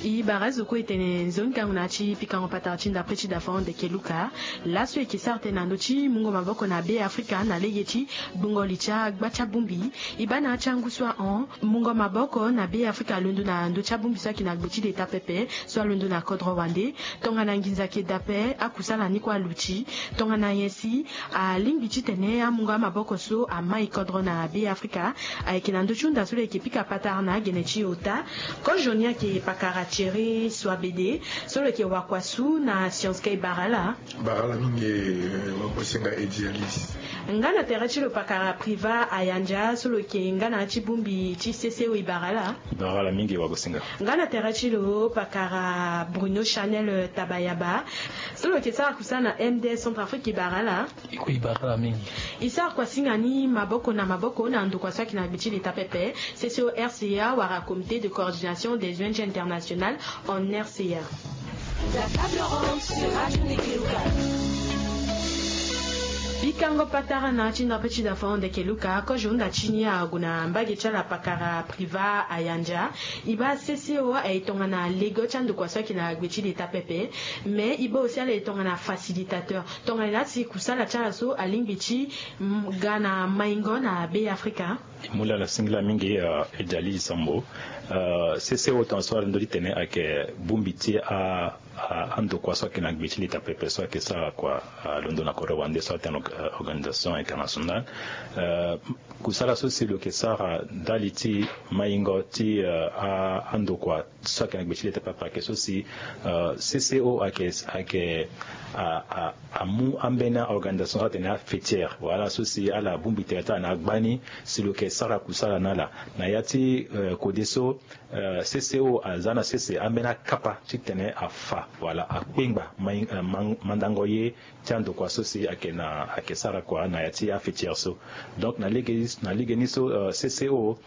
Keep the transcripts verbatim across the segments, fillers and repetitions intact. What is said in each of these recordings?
E bara zo kue e tene nzoni ngangu na ya ti pikango patara ti ndapre ti dafa hon ndeke luka. Laso e yeke sara tënë na ndö ti mungo maboko na be afrika na lege ti gbungo li ti agba ti abongbi. E baa na ya ti angu so ahon mungo maboko na be afrika alondo na ndö ti abongbi so ayeke na gbe ti leta pepe so alondo na kodro wande. Tongana nginza ayeke daa ape akusala ni kue aluti. Tongana nyen si alingbi titene amungo amaboko so amai kodro na be afrika. Ayeke na ndö ti hunda so lo yeke pika patara na agene ti ota. Kozo ni ayeke pakara thierry soabede so lo yeke wakua su na science key bara ala. Bara ala mingi. Wakuasinga edialis. Nga na tere ti lo pakara priva ayandia so lo yeke nga na ya ti bongbi ti cco e bara ala. Bara ala mingi wakuasinga. Nga na tere ti lo pakara bruno chanel tabayaba so lo yeke sara kusala na mds centrafrique e bara ala. E kue e bara ala mingi. E sara kuasinga ni maboko na maboko na ndokua so ayeke na gbe ti leta pepe cco rca wala comité de coordination des ong internationale en rca. Pikango patara na ya ti ndapre ti dafa hon ndeke luka kozo hunda ti ni ague na mbage ti ala pakara priva ayandia. E baa cco aye tongana lego ti andokua so ayeke na gbe ti leta pepe. Mais e baa aussi ala ye tongana facilitateur tongana laa si kusala ti ala so alingbi ti ga na maingo na be afrika. E mu laa ala singila mingi. Ejali sambo cco tonga so ala ndö ti tene ayeke bongbi ti andokua so ayeke na gbe ti leta pepe so ayeke sara kua alondo na kodro wande so atene organisation internationale. Kusala so si lo yeke sara ndali ti maingo ti andokua so ayeke na gbe ti leta pepe ayeke so si cco ayeke ayeke amu ambeni organisation so atene afetiere wala so si ala bongbi tere ti ala na agba ni si lo yeke sara kusala na ala na ya ti kode so. Cco aza na sese ambeni akapa titene afa wala akpengba mandango ye ti andokua so si ayeke na ayeke sara kua na ya ti afetiere so. Donc na lege na lege ni so cco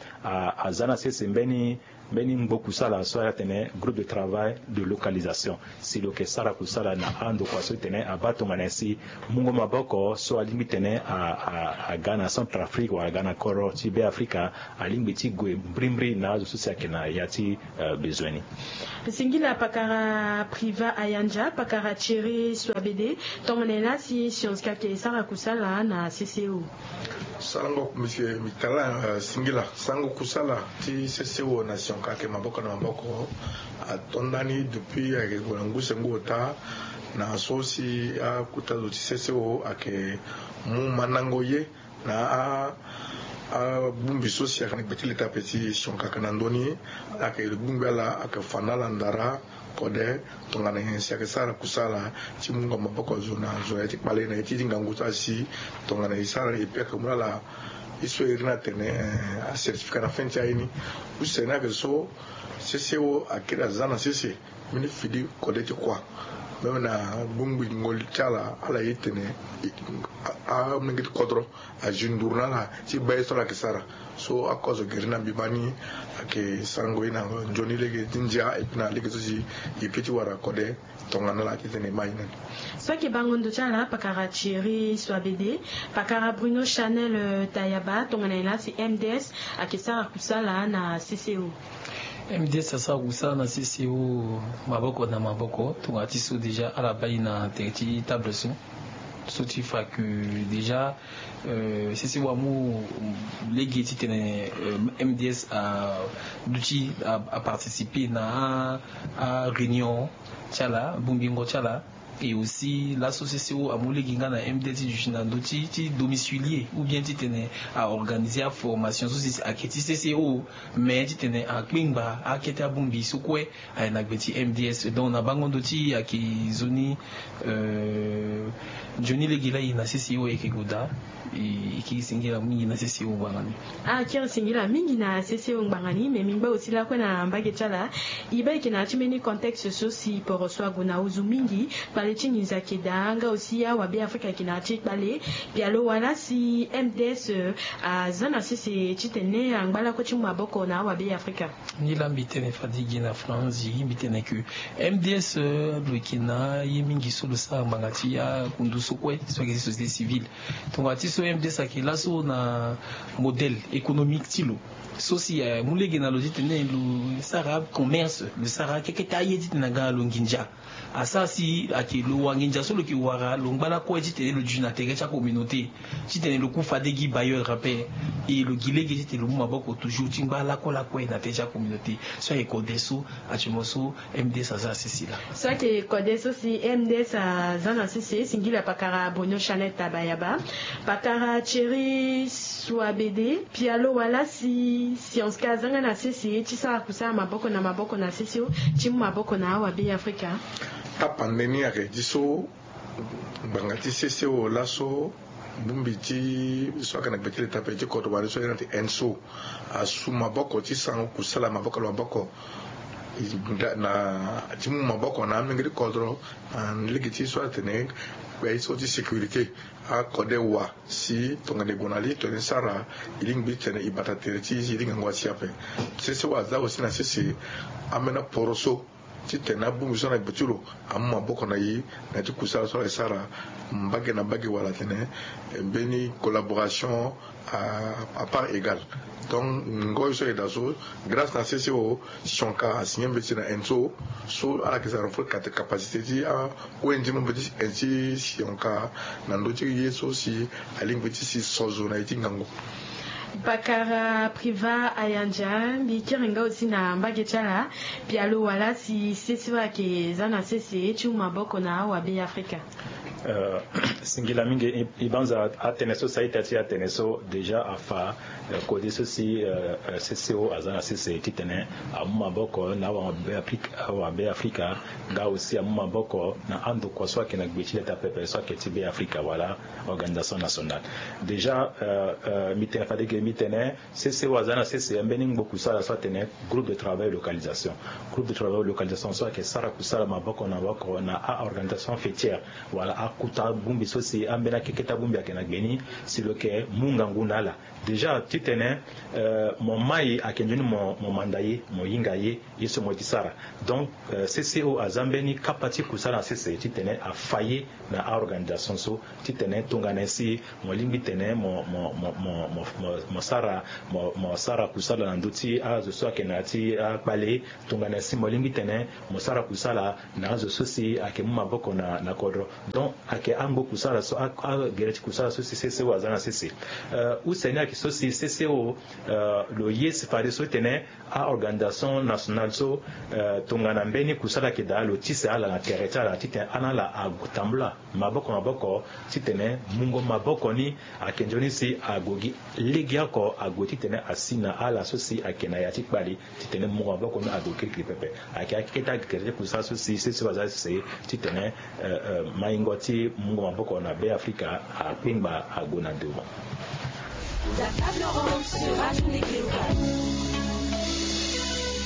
aza na sese mbeni mbeni ngbo kusala so atene groupe de travail de localisation si lo yeke sara kusala na andokua so tene abaa tongana nyen si mungo maboko so alingbi tene aga na centrafrique wala aga na koro ti be afrika alingbi ti gue mbrimbri na azo so si ayeke na ya ti bezoin ni. Singila pakara priva ayandia pakara thierry soabede. Tongana nyen laa si science kake e sara kusala na cco? Sarango monsieur mitala singila sarango kusala ti cco na science kake maboko na maboko ato ndani depuis ayeke gue na ngu sengu ota na so si akuta zo ti cco ayeke mu mandango ye na abongbi so si ayeke na gbe ti leta ape ti sionkaka na ndö ni. Ala yeke bongbi ala ayeke fa na ala ndara kode tongana nyen si ayeke sara kusala ti mungo maboko zo na zo na ye ti kpale na ye ti ti ngangu so asi tongana e sara e pe ayeke mu na ala. E so e iri ni atene acertificat na fin ti aye ni. Use ni ayeke so cco akiri aza na sese mbeni fidi kode ti kua même na gbongbi ngoli ti ala ala ye tene amolenge ti kodro azi nduru na ala ti baa ye so ala yeke sara. So akozo geri na mbi baa ni ayeke sarango ye na nzoni lege ti ndia epi na lege so si e pe ti wara kode tongana ala titene e ma ye na ni. So ayeke bango ndo ti ala pakara thierry soabede pakara bruno chanel tayaba tongana nyen laa si mds ayeke sara kusala na cco? Mds asara kusala na cco maboko na maboko tongana ti so déjà ala baa e na tere ti table so so ti fa que déjà cco amu lege titene mds aduti aparticiper na aréunion ti ala bongbingo ti ala. Et aussi laso cco amu lege nga na mds ti duti na ndö ti ti domicilier ou bien titene aorganiser aformation so si ayeke ti cco mais titene akpengba akete abongbi so kue aye na gbe ti mds donc na bango ndo ti ayeke zo ni. Nzoni lege laa e na cco ayeke gue daa. E kiri singila mingi na cco ngbanga ni. Ah kiri singila mingi na cco ngbanga ni mais mbi ngba aussi lakue na mbage ti ala. E baa e yeke na ya ti mbeni contexte so si poro so ague na ozo mingi kpale ti nginza ayeke daa nga aussi awabe afrika ayeke na ya ti kpale. Pialo wala si mds aza na sese titene angba lakue ti mu maboko na awabe afrika. Ni laa mbi tene fade gi na franzi mbi tene ke mds lo yeke na ye mingi so lo sara ngbanga ti akundu so kue so ayeke ti société civile. Tongana ti so mds ayeke laso na modèle économique ti lo So si, eh, mu lege na lo titene lo sara commerce, lo sara kekete aye titene aga na lo nginza. Asara si ayeke lo wa nginza so lo yeke wara, lo ngba lakue titene lo duti na tere ti acommunauté, titene lo ku fade gi bailleur ape. E lo gi lege titene lo mu maboko toujours ti ngba lakue lakue na tere ti acommunauté. So ayeke kode so, actuellement so, M D S aza na sese laa. So ayeke kode so si M D S aza na sese, singila pakara Bruno Chanel Tabayaba, pakara Thierry Souabédé, Pialo Wala, si Science K aza nga na sese ti sara kusala maboko na maboko na C C O ti mu maboko na awabe Afrika. Tapande ni ayeke di so, ngbanga ti C C O laso, bongbi ti so ayeke na gbe ti leta ape ti kodro wande so ayeke na ti ENSO, asu maboko ti sango kusala maboko na maboko, na ti mu maboko na amenge ti kodro, na lege ti so atene kpe so ti sécurité. Akode wa si tongana e gue na li tongana e sara, e lingbi titene e bata tere ti e ti ngangu asi ape. C C O aza aussi na sese ambeni aporoso titene abongbi so na gbe ti lo amu maboko na e na ya ti kusala so ayeke sara mbage na mbage wala atene mbeni collaboration à, à part égale. Donc ngoi so ayeke daa so, grâce na C C O, Sionka asigné mbeti na ENSO so ala yeke sara renforcer capacité ti a-O N G mo mbeti ti Sionka na ndö ti ye so si alingbi ti si sozo na ye ti ngangu. Pakara Priva Ayanja, mbi kiri nga aussi na mbage ti ala, Pialo Wala, si C C O ayeke za na sese ti mu maboko na awabe Afrika. Euh, singila mingi, e, e banza atene so, sa ita ti atene so déjà afa, euh, kode so si, euh, euh, C C O aza na sese titene amu maboko na awabe Afrika, awabe Afrika, nga aussi amu maboko na andokua so ayeke na gbe ti leta pepe so ayeke ti Be Afrika wala organisation nationale. Déjà, euh, euh, mbi tene fade ge mbi tene C C O aza na sese ambeni ngbo kusala so atene groupe de travail localisation. Groupe de travail localisation so ayeke sara kusala maboko na maboko na a-organisation faîtière wala akuta bongbi so si ambeni akeketa bongbi ayeke na gbe ni si lo yeke mu ngangu na ala. Déjà titene, euh, mo mai ayeke nzoni mo, mo manda ye, mo hinga ye, ye so mo ye ti sara. Donc, euh, C C O aza mbeni kapa ti kusala na sese titene afa ye na a-organisation so titene tongana si mo lingbi tene mo, mo, mo, mo, mo, mo, mo sara, mo, mo sara kusala na ndö ti azo so ayeke na ya ti akpale, tongana si mo lingbi tene mo sara kusala na azo so si ayeke mu maboko na, na kodro. Donc ayeke angbo kusala so, a, agere ti kusala so si C C O aza na sese. Euh, use ni ayeke so si C C O, euh, lo ye si fadeso titene a-organisation nationale so, euh, tongana mbeni kusala ayeke daa lo tise ala na tere ti ala titene ala na ala atambula maboko maboko titene mungo maboko ni ayeke nzoni si ague gi legeoko ague titene asi na ala so si ayeke na ya ti kpale titene mungo maboko ni ague kirikiri pepe. Ayeke akete agere ti kusala so si C C O aza sese titene, euh, euh, maingo ti mungo maboko na Be Afrika akpengba ague na devant.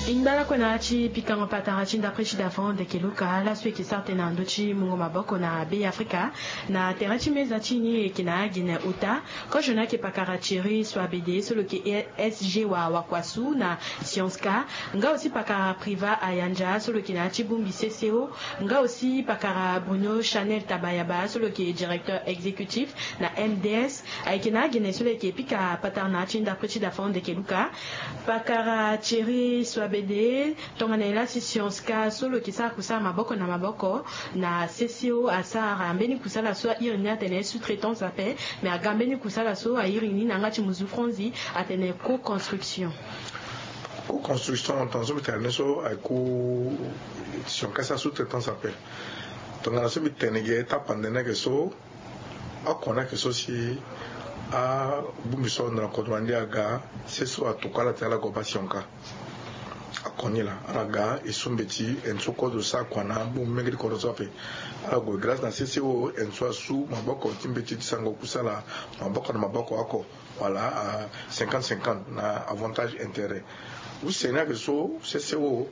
E ngba lakue na ya ti pikango patara ti ndapre ti davant ndeke luka laso e yeke sara tënë na ndö ti mungo maboko na Be Afrika. Na tere ti meza ti e ni e yeke na agene ota, kozo ni ayeke pakara Thierry Souabédé so lo yeke S G wa wakuasu na Science K, nga aussi pakara Priva Ayanja so lo yeke na ya ti bongbi C C O, nga aussi pakara Bruno Chanel Tabayaba so lo yeke directeur exécutif na M D S. Ayeke na agene so lo yeke pika patara na ya ti ndapre ti davant ndeke luka. Pakara Thierry Souabédé, tongana nyen la si Science K so lo yeke sara kusala maboko na maboko na C C O asara mbeni kusala so a iri ni atene sous-traitance ape, me aga mbeni kusala so a iri ni na yanga ti muzu franzi atene co-construction. Co-construction, tongana so mbi tene ni so ayeke Science K asara sous-traitance ape. Tongana so mbi tene ge tapande ni ayeke so, oko ni ayeke so si abongbi so ahunda na kodro na ni aga, C C O atokua ala tene ala gue baa Science K. Oko ni laa, ala ga e su mbeti, e so kodro sara kua na abongbi menge ti kodro so ape. Ala gue grâce na C C O, e so asu maboko ti mbeti ti sango kusala maboko na maboko oko. Voilà, à cinquante cinquante na avantage intérêt. Use ni ayeke so C C O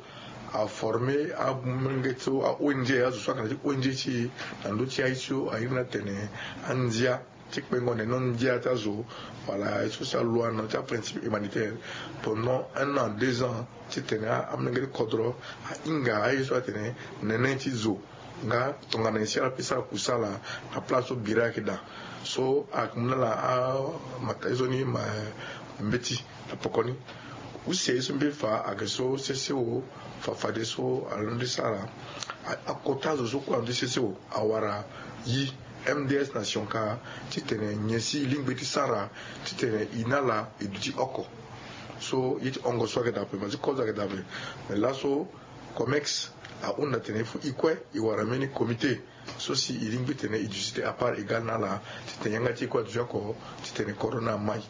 aforme amenge so a-O N G, azo so ayeke na ti O N G ti e na ndö ti aye so a iri ni atene andia ti kpengo nene ndia ti azo. Voilà, aye so si aloa na ti aprincipe humanitaire pendant un an, deux ans, titene amolenge ti kodro ahinga aye so atene nene ti zo. Nga tongana nyen si ala peut sara kusala na place so bira ayeke daa. So ayeke mu na ala amata ye so ni ma mbeti na poko ni. Use ye so mbi fa ayeke so C C O fa fadeso alondo ti sara. Akota azo so kue alondo ti C C O awara yi M D S na Sionka titene nyen si e lingbi ti sara titene e na ala e duti oko. So ye ti hongo so ayeke daa ape, ma ti kozo ayeke daa ape. Me laso Comex ahunda tene il faut e kue e wara mbeni comité so si e lingbi tene e duti à part égal na ala titene yanga ti e kue aduti oko titene corona amai.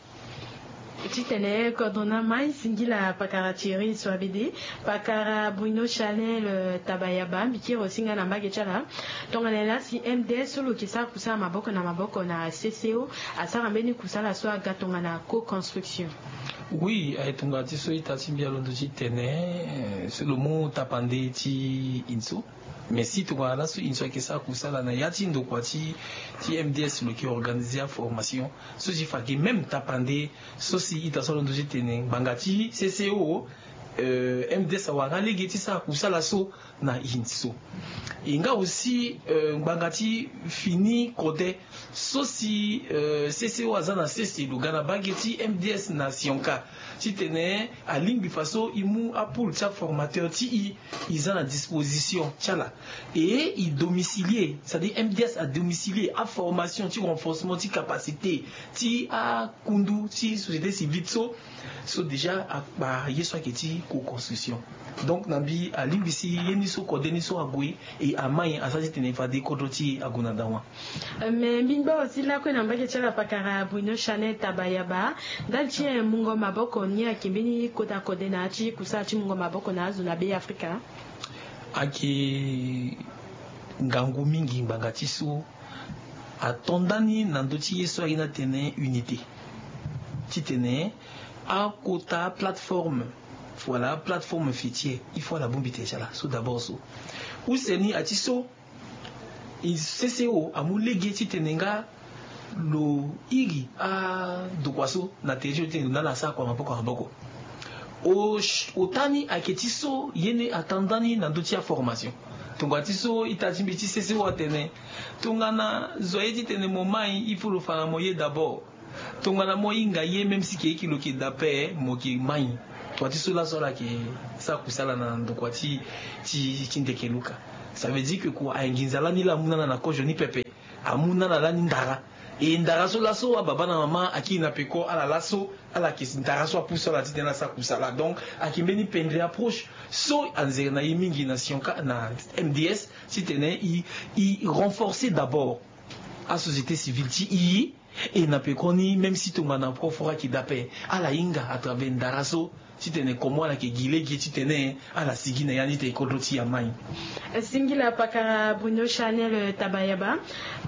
Titene corona amai, singila pakara Thierry Soabede, pakara Bruno Chanel, euh, Tabayaba, mbi kiri aussi nga na mbage ti ala. Tongana nyen la si M D S so lo yeke sara kusala maboko na maboko na C C O asara mbeni kusala so aga tongana co-construction? Oui, aye tongana ti so ita ti mbi alondo titene, euh, so lo mu tapande ti inso. Mais si tongana laso inso ayeke sara kusala na ya ti ndokua ti, ti M D S lo yeke organiser aformation so si fa ayeke même tapande so si ita so alondo titene ngbanga ti C C O, euh, M D S awara nga lege ti sara kusala so na inso. E nga aussi, euh, ngbanga ti fini kode so si, euh, C C O aza na sese lo ga na mbage ti M D S na Sionka titene alingbi faso e mu apoule ti aformateur ti e, e za na disposition ti ala. Et e domicilier, c'est-à-dire M D S adomicilier aformation ti renforcement ti capacité ti akundu ti société civile so, so déjà akpa ye so ayeke ti co-construction. Donc na mbi alingbi si ye ni so kode ni so ague, e amai asara titene fade kodro ti e ague na dawa. Euh, me mbi ngba aussi lakue na mbage ti ala pakara Bruno Chanel Tabayaba, ndali ti, eh, mungo maboko ni ayeke mbeni kota kode na ya ti kusala ti mungo maboko na azo na Be Afrika? Ayeke ngangu mingi ngbanga ti so ato ndani na ndö ti ye so aye ni atene unité. Titene akota plateforme, voilà, plateforme fêtière, il faut ala bongbi tene ti ala so d'abord so. Use ni aye ti so, C C O amu lege titene nga lo iri andokua so na tere ti lo titene lo na ala asara kua maboko na maboko. O, ota ni ayeke ti so ye ni ato ndani na ndö ti aformation. Tongana ti so ita ti mbi ti C C O atene, tongana zo aye titene mo mai, il faut lo fa na mo ye d'abord. Tongana mo hinga ye, même si ke eke lo ke daa ape, mo ke mai. Kua ti so laso ala yeke sara kusala na ndokua ti, ti, ti ndeke luka. Ça veut dire que kua aye nginza lani laa amu na ala na kozo ni pepe. Amu na ala lani ndara. E ndara so laso ababa na mama akiri na peko, ala laso ala yeke ndara so apusu ala titene ala sara kusala. Donc ayeke mbeni pendre approche so anzere na ye mingi na Sionka na M D S titene e, e renforcer d'abord asociété civile ti e. E na pekoni, même si tongana koforo ayeke daa ape, ala hinga à travers ndara so titene comment ala yeke gi lege titene ala sigi na ya ni titene kodro ti e amai. Singila pakara Bruno Chanel, euh, Tabayaba,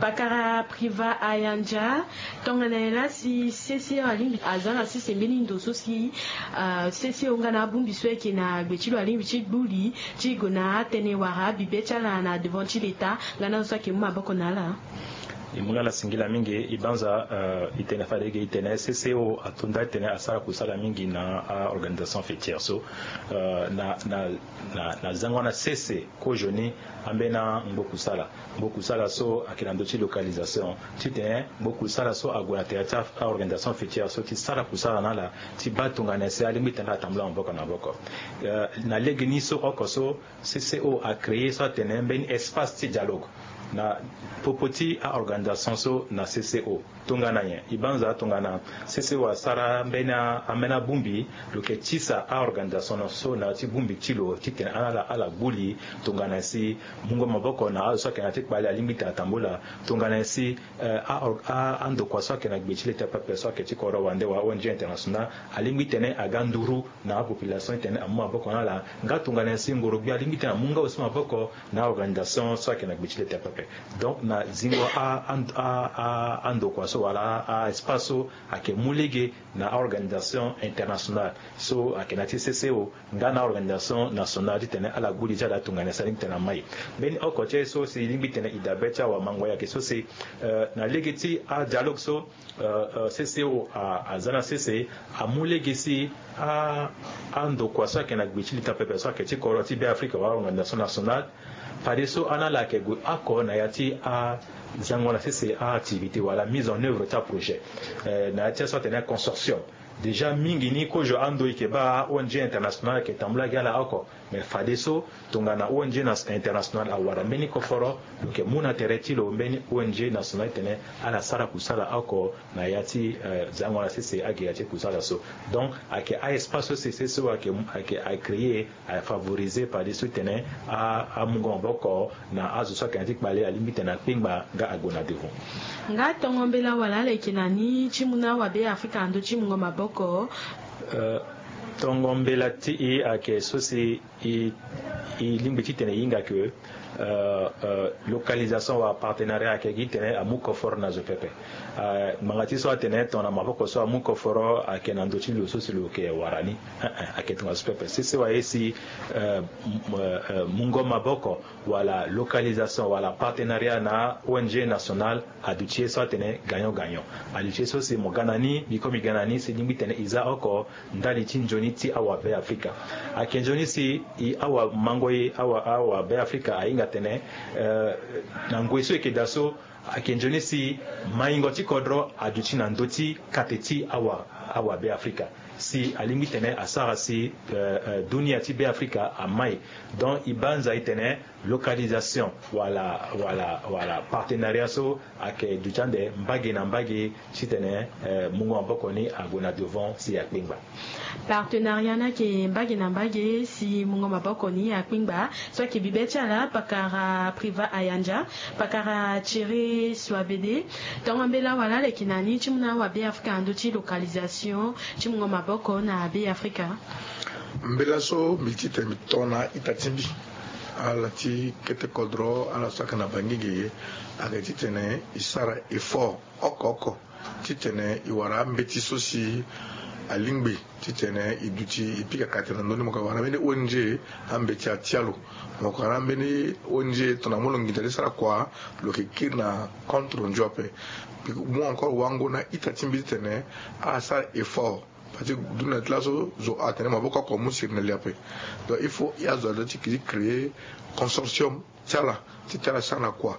pakara Priva Ayanja. Tongana nyen la si C C O alingbi aza na sese mbeni ndo so si, euh, C C O nga na abongbi so ayeke na gbe ti lo alingbi ti gbu li ti gue na atene wala abibe ti ala na devant ti l'État nga na azo so ayeke mu maboko na ala? E mu na ala singila mingi. E banza, euh, e tene fade ge e tene C C O ato nda titene asara kusala mingi na a-organisation faîtière so, euh, na, na, na, na zango na sese kozoni ambeni angbo kusala. Ngbo kusala so ayeke na ndö ti localisation titene ngbo kusala so ague na tere ti a-organisation faîtière so ti sara kusala na ala ti baa tongana nyen si alingbi tene ala tambula maboko na maboko. Euh, na lege ni so oko so, C C O acréer so atene mbeni espace ti dialogue na popo ti a-organisation so na C C O. Tongana nyen? E banza tongana C C O asara mbeni a, ambeni abongbi, lo yeke tisa a-organisation so na ya ti bongbi ti lo titene ala, ala gbu li tongana nyen si mungo maboko na azo so ayeke na ya ti kpale alingbi tene atambula, tongana nyen si, euh, a, a, andokua so ayeke na gbe ti leta pepe so ayeke ti kodro wande wala O N G international alingbi tene aga nduru na apopulation titene amu maboko na ala. Nga tongana nyen si ngoro-gbia alingbi titene amu nga aussi maboko na organisation so ayeke na gbe ti leta pepe. Donc na zingo a, a, a, a, andokua so wala a, a espace so ayeke mu lege na organisation internationale so ayeke na ya ti C C O nga na organisation nationale titene ala gbu li ti ala tongana nyen si alingbi tene amai. Mbeni oko ti aye so si e lingbi tene e dabe ti awamango ayeke so si, euh, na lege ti adialogue so, euh, euh, C C O a, aza na sese amu lege si a, andokua so ayeke na gbe ti leta pepe so ayeke ti kodro ti Be Afrika wala organisation nationale, fadeso ana ala yeke gue oko na ya ti azango na sese a-activité wala mise en œuvre ti aprojet, euh, na ya ti aye so atene consortium. Déjà mingi ni kozo ando e yeke baa O N G international ayeke tambula gi ala oko. Mais fadeso tongana O N G international awara mbeni koforo, lo yeke mu na tere ti lo mbeni O N G national titene ala sara kusala oko na ya ti zango na sese agere ya ti kusala so. Donc ayeke a-espace so sese so ayeke ayeke acree, afavorize fadeso titene amungo maboko na azo so ayeke na ya ti kpale alingbi titene akpengba nga ague na devant. Nga tongo mbela wala ala yeke na ni ti mu na awabe afrika na ndö ti mungo maboko? Tongo mbela ti e ayeke so si e lingbi titene e hinga ke localisation wala partenariat ayeke gi titene amu koforo na zo pepe. Ngbanga ti so atene tongana maboko so amu koforo ayeke na ndö ti lo so si lo yeke wara ni. Ayeke tongaso pepe sese waye si mungo maboko wala localisation wala partenariat na O N G national aduti ye so atene gagnant gagnant. Aduti ye so si mo ga na ni biko mi ga na ni si lingbi tene e za oko ndali ti nzoni ti awabe afrika. Ayeke nzoni si e awamango ye awabe afrika ahinga tene na ngoi so e yeke daa so ayeke nzoni si maingo ti kodro aduti na ndö ti kate ti awabe afrika si alingbi tene asara si dunia ti be afrika amai. Donc e banza e tene localisation wala wala wala partenariat so ayeke duti ande mbage na mbage titene mungo maboko ni ague na devant si akpengba. Partenariat ni ayeke mbage na mbage si mungo maboko ni akpengba. So ayeke bibe ti ala pakara Priva Ayanja, pakara Thierry Suabede. Tongo mbela wala ala yeke na ni ti mu na awabe afrika na ndö ti localisation ti mungo maboko na be afrika? Mbela so mbi ti tene mbi tongana ita ti mbi ala ti kete kodro ala so ayeke na bangenge ayeke titene e sara effort oko oko titene e wara ambeti so si alingbi titene e duti e pika kate na ndö ni. Mo yeke wara mbeni O N G ambeti atia lo. Mo yeke wara mbeni O N G tongana mo lo nginza ti sara kua lo yeke kiri na compte rendu ape. Mbi mu encore wango na ita ti mbi titene ala sara effort. Parce que dunia ti laso zo atene maboko oko amu siri na li ape. Donc il faut azo aza ti kiri créer consortium ti ala ti ti ala sara na kua.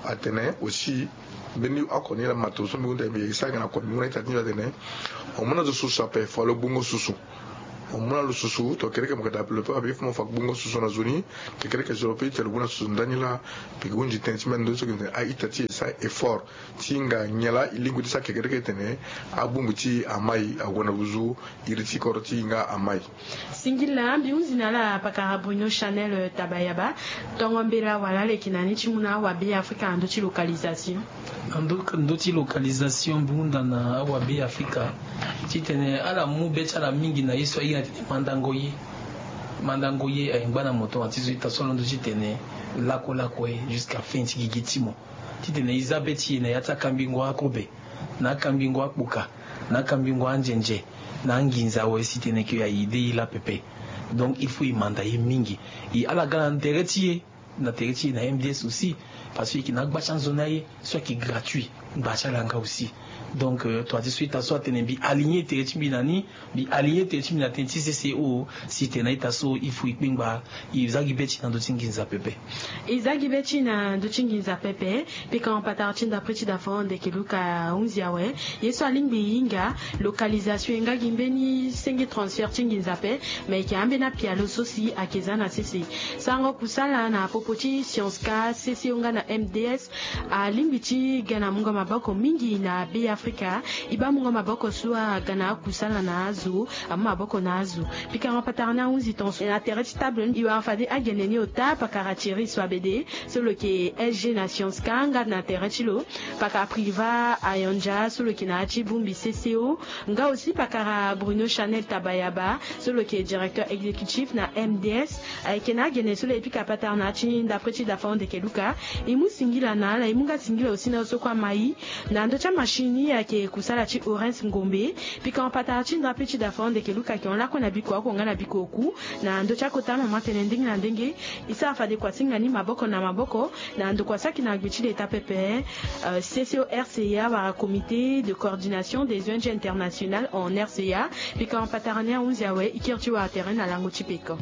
Atene aussi mbeni oko ni laa mato so mbi hunda mbi sara nga na kua mbi hunda ita ti mbi atene mo mu na zo susu ape fade lo gbungo susu. Mo mu na lo susu to kereke mo yeke daa ape lo pe ape il faut mo fa gbungo susu na zo ni. Kekereke zo lo pe ti tene lo mu na susu ndani laa. Mbi hunzi tënë ti mbi na ndö so ayeke tene a-ita ti e sara effort ti hinga nyen laa e lingbi ti sara kekereke tene abongbi ti e amai ague na nduzu. Iri ti kodro ti e nga amai. Singila mbi hunzi na ala pakara Bruno Chanel Tabayaba. Tongo mbela wala ala yeke na ni ti mu na awabe afrika na ndö ti localisation? Na ndö ti localisation mbi hunda na awabe afrika titene ala mu be ti ala mingi na ye so ahinga titene mandango ye. Mandango ye aye ngba na mo tongana ti so ita so alondo titene lakolako ye jusqu'à fin ti gigi ti mo. Titene e za be ti e na ya ti akambingo akobe, na akambingo akpoka, na akambingo anzenze, na anginza awe si tene ke aye de ye laa pepe. Donc il faut e manda ye mingi. E ala ga na tere ti e, na tere ti e na M D S aussi. Parce que e yeke na agba ti anzoni aye so ayeke gratuit. Ngba ti ala nga aussi. Donc tongana ti so ita so atene mbi aligner tere ti mbi na ni, mbi aligner tere ti mbi na tënë ti C C O. Si tene na ita so il faut e kpengba. E za gi be ti e na ndö ti nginza pepe. E za gi be ti e na ndö ti nginza pepe. Pika patara ti ndapre ti dafa ndeke luka ahunzi awe. Ye so alingbi e hinga localisation e nga gi mbeni senge transfert ti nginza ape. Me e yeke ambeni apialo so si ayeke za na sese. Sarango kusala na popo ti science ka C C O nga na M D S. Alingbi ti ga na mungo maboko mingi na be afrika. E baa mungo maboko so aga na akusala na azo, amu maboko na azo. Pikango patara ni ahunzi tonso na tere ti table ni e wara fade agene ni ota pakara Thierry Suabede so lo yeke S G na science ka nga na tere ti lo, pakara Priva Ayanja so lo yeke na ya ti bongbi C C O, nga aussi pakara Bruno Chanel Tabayaba so lo yeke directeur exécutif na M D S. Ayeke na agene so lo ye pika patara na ya ti ndapre ti dafa ndeke luka. E mu singila na ala, e mu nga singila aussi na azo so kue ama e na ndö ti amachine ni ayeke kusala ti Orens Ngombe. Pikango patara ti ndapre ti dafa ndeke luka ayeke hon lakue na biko oko nga na biko oku na ndö ti akota mama tënë ndenge na ndenge. E sara fade kua ti hinga ni maboko na maboko na ndokua so ayeke na gbe ti leta pepe, C C O R C A wala Comité de coordination des O N G internationales en R C A. Pikango patara ni ahunzi awe, e kiri ti wara tere na lango ti peko.